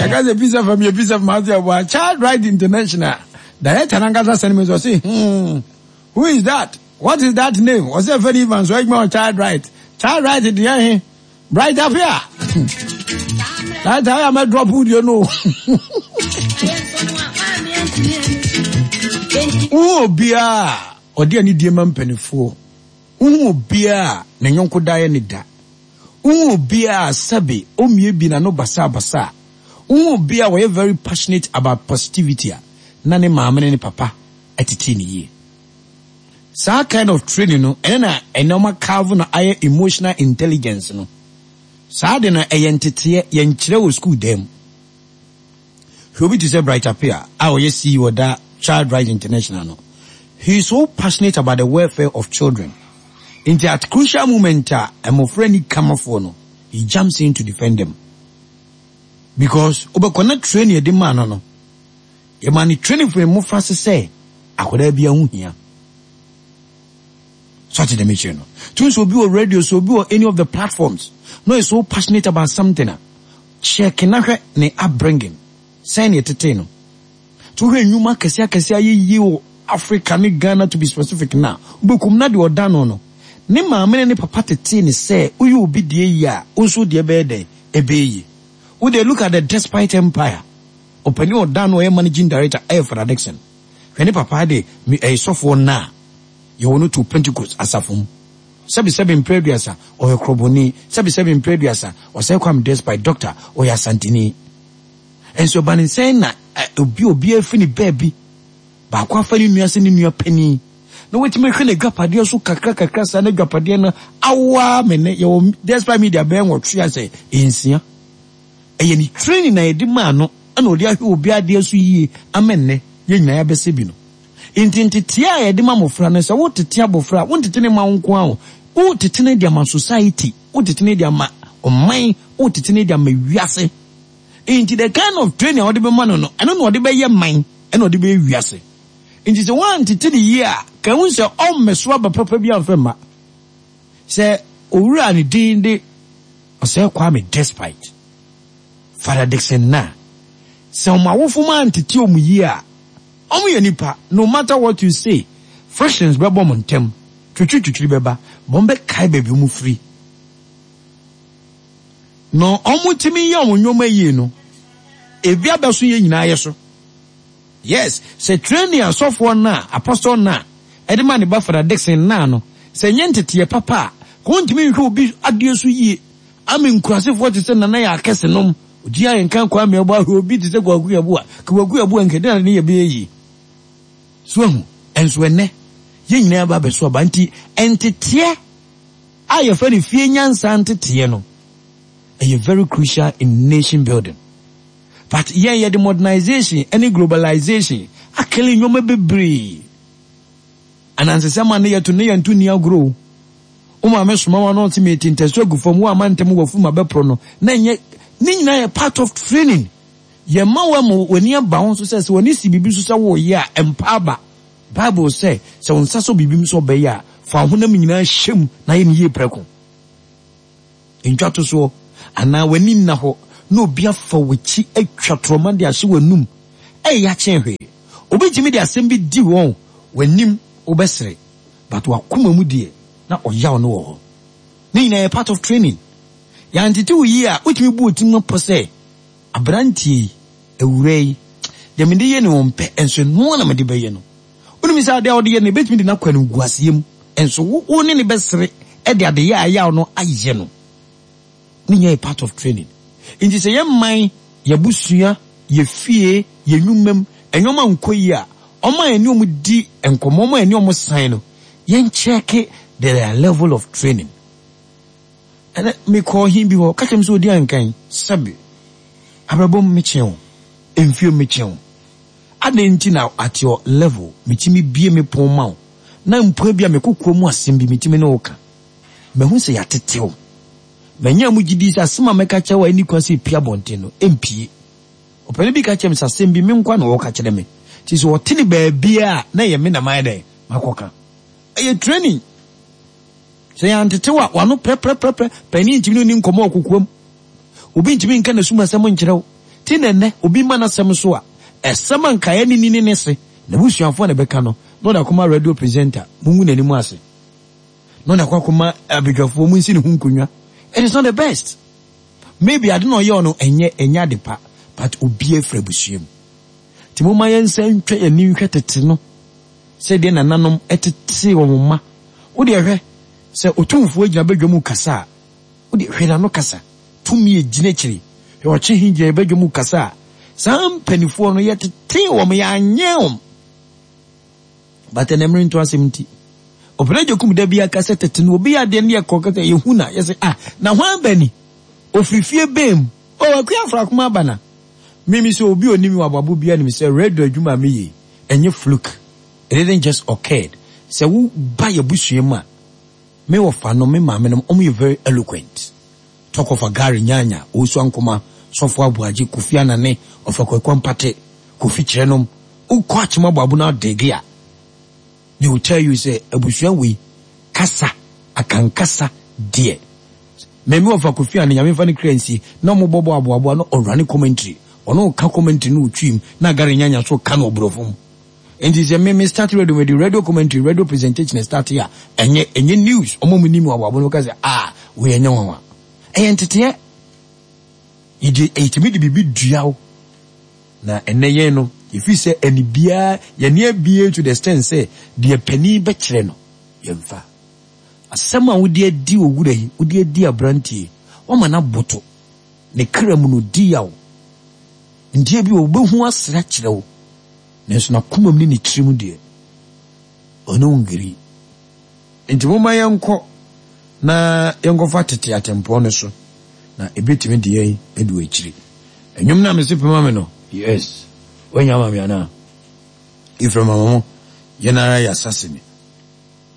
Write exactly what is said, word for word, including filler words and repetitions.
Yɛka sɛ Peace F M yɛ Peace F M ase ɛboa Child Right International director nankasa sɛne me sɛ ɔse, hmm who is that? What is that name? Ɔsɛ Fɛdi Evans ɔyɛ adwuma wɔ Child Right. Child Right deɛ he Bright Apia. Right I am a drop you know. Wo bia ɔde ani die ma mpanifoɔ. Wo bia ne nyɔnko daeɛ ne da. Wo bia sɛbe omie bi na no basa basa. Wo bia wɔyɛ very passionate about positivity a na ne maame ne ne papa atete ne yie. Saa kind of training no ɛne na ɛne ɔma carve na ayɛ emotional intelligence no. Saa de na ɛyɛ nteteɛ yɛnkyerɛ wɔ school dɛm. Hwɛ obi te sɛ Bright Appiah a ɔyɛ C E O da Child Right International no. He is so passionate about the welfare of children. Nti at crucial moment a mmɔfra ni kamafoɔ no, he jumps in to defend them. Because wobɛkɔ na training yɛde maa no no, yɛma ne training firi mmɔfra se sɛ akwadaa bi ho hia. So ate dɛm akyire no. Tun sɛ obi wɔ radio so, obi wɔ any of the platforms, no is so passionate about something a, check na hwɛ ne upbringing. Sɛn ne ɛtetee no. To hwɛ nnwuma akɛseɛ akɛseɛ ayɛ yie wɔ Africa ne Ghana, to be specific, na wobɛkum na deɛ ɔda no no. Ne maame ne ne papa tetee ne sɛ woyɛ obi deɛ yie a, wo nso deɛ bɛyɛ dɛn ɛbɛyɛ yie. Wo deɛ, look at the Despite Empire. Ɔpanin ɔda no ɔyɛ managing director ɛyɛ Father Dixon. Hwɛ ne papa de ɛyɛ sɔfoɔ naa yɛwɔ no to Pentecost asafo mu. Sɛbi sɛbi mpere aduasa ɔyɛ korɔbɔni, sɛbi sɛbi mpere aduasa ɔsɛ Kwame Despite doctor ɔyɛ Asantini. Nso ɛba ne nsɛn na obi obi afi ne baabi baako afa ne nua sɛ ne nua panin na wɔtumi hwɛ n'adwapadeɛ so kakra kakra saa n'adwapadeɛ no awoa mene yɛwɔ Despite Media bɛyɛ nwɔtwe asɛ nsia. Ɛyɛ ne training na yɛde maa no ɛna ɔde ahwɛ obi adeɛ so yie ama nnɛ yɛn nyinaa yɛabɛsɛ bi no. Nti nteteɛ a yɛde ma mmɔfra no, sɛ wotete abɔfra a, wontete ne ma wo nko ara o, wotete ne de ama society, wotete ne de ama ɔman, wotete ne de ama wiase. Nti the kind of training a wɔde bɛma no no, ɛno na ɔde bɛyɛ man, ɛna ɔde bɛyɛ wiase. Nti sɛ woantete ne yie a, ka hu sɛ ɔmmɛso aba papa bi amfɛ mma sɛ owura ne din de Ɔsɛ Kwame Despite, Father Dixon, na sɛ ɔmo awofo ma antete ɔmo yie a, ɔmo yɛ nipa. No matter what you say, frictions bɛbɔ ɔmo ntɛm, twitwiritwitwiri bɛba, bɔn bɛkae baabi ɔmo firi na ɔmo tumi yɛ ɔmo nneɛma yie no, ebi abɛso yɛ nyinaa yɛ so. Yes, sɛ training asɔfoɔ na apostle na ɛde ma ne ba Father Dixon naa no, sɛ nyɛ nteteɛ papa a, kò ntumi nhwɛ obi adeɛ so yie ama nkurasefoɔ te sɛ Nana yɛ akɛse nom ogyi ayɛ nka Kwame ɛbɔ ahwɛ obi te sɛ Kwaku Yɛboa Kwaku Yɛboa nkɛde na ne yɛ bɛyɛ yie so ahu. Ɛnso ɛnɛ yɛn nyinaa ba abɛso aba. Nti nteteɛ a yɛfrɛ no fie nyansa nteteɛ no ɛyɛ very crucial in nation building, but yɛn yɛde modernization ɛne globalization akele nneɛma bebree. Anansesɛm a ne yɛto ne yɛnto ni agorɔ o. Wo maame soma wa no ɔte meti ntɛso agu fam wo ama ntɛm wɔ fum abɛporɔ no na nyɛ ne nyinaa yɛ part of training. Yɛma wo ama w'ani aba ho so sɛ sɛ w'ani si biribi so sɛ woyɛ a, mpa aba. Bible sɛ sɛ wo nsa so biribi mu sɛ ɔbɛyɛ a, fa wo honam nyinaa hyɛ mu na yɛ ne yie prɛko. Ntwa to soɔ anaa w'ani nna hɔ na obi afa w'akyi atwa torɔma de ahyɛ w'anum, ɛyɛ akyɛn hwee. Obi tumi de asɛm bi di wɔn w'anim, wobɛsere, but wakoma mu deɛ na ɔyaw no wɔ hɔ. Ne nyinaa yɛ part of training. Yɛantete wo yie a, wotumi bu wo tirim pɔ sɛ aberanteɛ yi, awura yi deɛ mede yɛ ne wɔn pɛ, nso noa na mede bɛyɛ no. Wonim sɛ adeɛ a wode yɛ no ebɛtumi de no akɔ animguaseɛ mu, nso wo wo ne ne bɛsere ɛde ade yɛ ayaw no ayɛ no. Ne nyinaa yɛ part of training. Nti sɛ yɛ man, yɛbusua, yɛ fie, yɛ nnwuma mu ɛnneɛma nkɔ yie a, ɔmo a yɛne ɔmo di nkɔmɔ, ɔmo a yɛne ɔmo san no, yɛn check their level of training. Ɛnɛ mekɔ ɔhen bi hɔ, kakyɛ mi sɛ odi ankan sɛbi abrabɔ mu mekyɛn o, mfie mu mekyɛn o, adan nti na at your level metumi bie me pon ma wo na mpo bi a mekɔ kurom asɛm bi metumi ne wo ka. Mahu sɛ yɛatetew manya mu gyidi sɛ asɛm a mɛka kyerɛ wo a ɛni kwan sɛ ɛpie abɔnten no ɛmpie. Ɔpɛni bi ka kyerɛ me sɛ asɛm bi me nkwa na ɔka kyerɛ me, nti sɛ ɔte ne baabia a na ɛyɛ me na mayɛ dɛn makɔka. Ɛyɛ training. Sɛ yɛantetew a, wano prɛprɛprɛprɛ, panin ntumi ne ɔni nkɔmmɔ wɔ kokoam, obi ntumi nka n'asum asɛm nkyerɛ wo. Ti na ɛnɛ obi ma n'asɛm so a, ɛsɛm a nkaeɛ ne ni ne ne se n'abusuafoɔ na ɛbɛka no, na ɔde akɔma radio presenter, mungu n'anim ase, na ɔde akɔ akɔma abadwafoɔ, mu nsi ne ho nkonnwa. It is not the best. Maybe ade na ɔyɛ ɔno ɛnyɛ ɛnyɛ ade pa, but obi afiri abusua mu. Nti momma yɛnsa ntwa yɛn ani nhwɛ tete no sɛdeɛ nananom ɛtete wɔn mma. Wode hwɛ sɛ Otumfoɔ gyina badwa mu kasa a, wode hwɛ n'ano kasa, tumi egyina akyiri. Hwɛ ɔkye he gyina badwa mu kasa a, saa mpanimfoɔ no yɛtete wɔn, yɛanyɛ wɔn. But ɛnɛ mmere nto asɛm nti, ɔpɛrɛ gye kum da bi aka sɛ tete no obi yɛ adeɛ no yɛ kɔ kasa yɛhu na yɛsɛ ah, na hwan ba ni, ofiri fie bɛn mu, o akua afrakoma aba na mimi sɛ obi onim wɔ aboabo bi anim sɛ radio adwuma a meyɛ ɛnyɛ fluke. It didn't just occurred. Sɛ wo ba yɛ busua mu a, me wɔfa no, me maame no, ɔmo yɛ very eloquent. Talk of Agari Nyanya, Owusu Ankoma, Sɔfo Aboagye, Kofi Anane, Ɔfa Kwaku Ampate, Kofi Kyerɛnom. Wokɔ Akyem Aboabo na adege a, they will tell you sɛ abusua wei kasa, akankasa deɛ. Mɛmi wɔfa Kofi Anane, Nyame mfa ne kra nsie, na ɔmo bɔbɔ aboaboa no, ɔrane commentary. Ɔno ka commentary no otwi mu, na Agari Nyanya so ka no ɔborɔfo mu. Nti sɛ me me start radio, me de radio commentary, radio presentation start a, ɛnyɛ ɛnyɛ news. Ɔmo mu nim aboabo no ka sɛ ah, wei ɛnyɛ nwanwa. Ɛyɛ nteteɛ. Yɛde ɛyɛtumi de biribi dua wo. Na ɛnɛ yɛn no, yɛfiri sɛ ɛni biara yɛne abie to the extent sɛ deɛ panin bɛkyerɛ no yɛmfa. Asɛm a wode adi owura yi, wode adi aberanteɛ, wama no aboto. Ne kra mu no di yaw. Ndeɛ bi wɔ wobɛhu asra kyerɛ wo. Nanso n'akoma mu ne ne tirim deɛ, ɔne wo ngiri. Nti momma yɛnkɔ na yɛnkɔfa tete atempɔn no so, na ebetumi de yɛn adu akyiri. Ɛnwom no a mese pema me no, yes, woanya ama me anaa? Ephraim ama mo, yɛn ara yɛ asase ni.